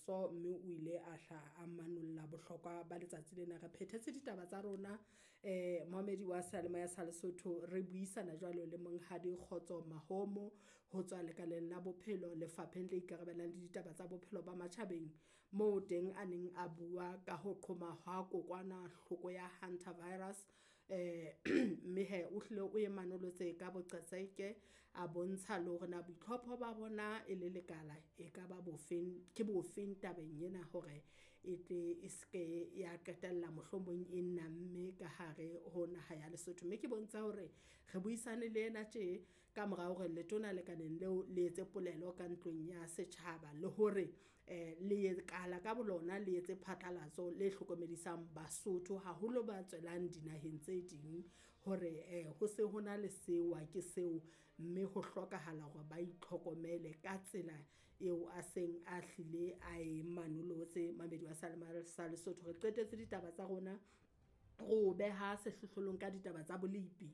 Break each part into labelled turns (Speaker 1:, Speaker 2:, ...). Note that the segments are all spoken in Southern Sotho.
Speaker 1: moso, mme o ile a hla a manolla bohlokwa ba letsatsi lena. Re phethetse ditaba tsa rona momamedi wa seyalemoya sa Lesotho re buisana jwalo le Monghadi Kgotso Mahomo ho tswa lekaleng la bophelo lefapheng le ikarabellang le ditaba tsa bophelo ba matjhabeng. Moo teng a neng a bua ka ho qhoma ha kokwanahloko ya hantavirus. Mme hee o hlile o e manolotse ka boqhetseke, a bontsha le hore na boitlhopho ba bona e le lekala e ka ba bofeng, ke bofeng tabeng ena hore e tle e seke ya qetella mohlomong e namme ka hare ho naha ya Lesotho. Mme ke bontsha hore re buisane le ena tje ka mora hore letona lekaleng leo le etse polelo ka ntlong ya setjhaba le hore lekala ka bolona le etse phatlalatso le hlokomedisang Basotho haholo ba tswelang dinaheng tse ding hore ho se hona le sewa ke seo, mme ho hlokahala hore ba itlhokomele ka tsela eo a seng a hlile a e manolotse mamedi wa sa Lesotho. Re qetetse ditaba tsa rona, ro beha sehlohlolong ka ditaba tsa bolepi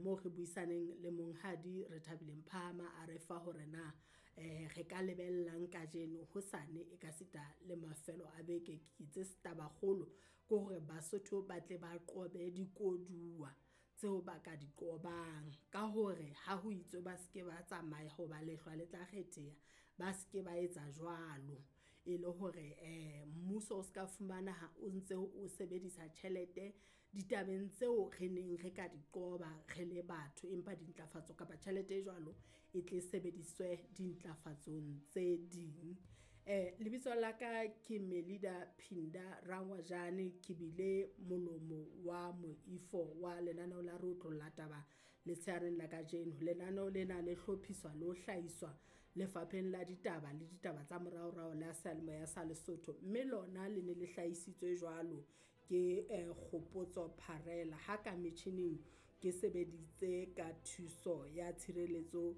Speaker 1: moo re buisaneng le Monghadi Rethabile Mphama a re fa hore na re ka lebellang kajeno, hosane e ka sita le mafelo a beke. Ke itse taba kgolo ke hore Basotho ba tle ba qobe dikoduwa tseo ba ka di qobang ka hore ha ho itswe ba seke ba tsamaya ho ba lehlwa le tla kgetheha, ba seke ba etsa jwalo. E le hore mmuso o ska fumanaha o ntse o sebedisa tjhelete ditabeng tseo re neng re ka di qoba re le batho, empa dintlafatso kapa tjhelete e jwalo e tle sebediswe dintlafatsong tse ding. Lebitso la ka ke Melida Phinda Rangwajane ke bile molomo wa moifo wa lenaneo la re otlolla taba letshehareng la kajeno. Lenaneo lena le hlophiswa le ho hlahiswa lefapheng la ditaba le ditaba tsa moraorao la seyalemoya sa Lesotho, mme lona le ne le hlahisitswe jwalo ke Kgopotso Pharela ha ka metjhining ke sebeditse ka thuso ya tshireletso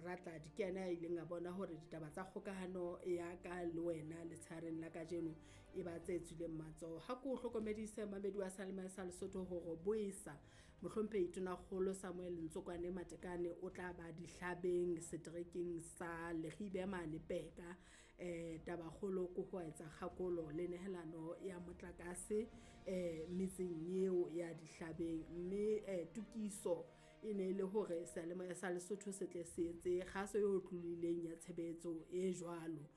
Speaker 1: Ratladi ke yena a ileng a bona hore ditaba tsa kgokahano ya ka le wena letshehareng la kajeno e ba tse tswileng matsoho. Ha ko hlokomedise mamedi wa seyalemoya sa Lesotho hore boesa Mohlomphehi Tonakgolo Samuel Ntsokwane Matekane o tla ba dihlabeng seterekeng sa Leribe mane Peka. Tabakgolo ke ho etsa kgakolo le nehelano ya motlakase metseng eo ya dihlabeng, mme tokiso e ne le hore seyalemoya sa Lesotho se tle se etse kgaso e otlolohileng ya tshebetso e jwalo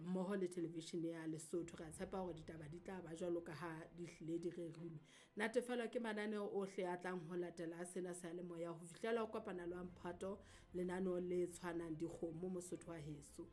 Speaker 1: mmoho le television ya Lesotho. Re a tshepa hore ditaba di tla ba jwalo ka ha di hlile di rerilwe. Natefelwa ke mananeo ohle a tlang ho latela sena seyalemoya ho fihlela ho kopana le wa mphato lenaneo le tshwanang dikgomo Mosotho wa heso.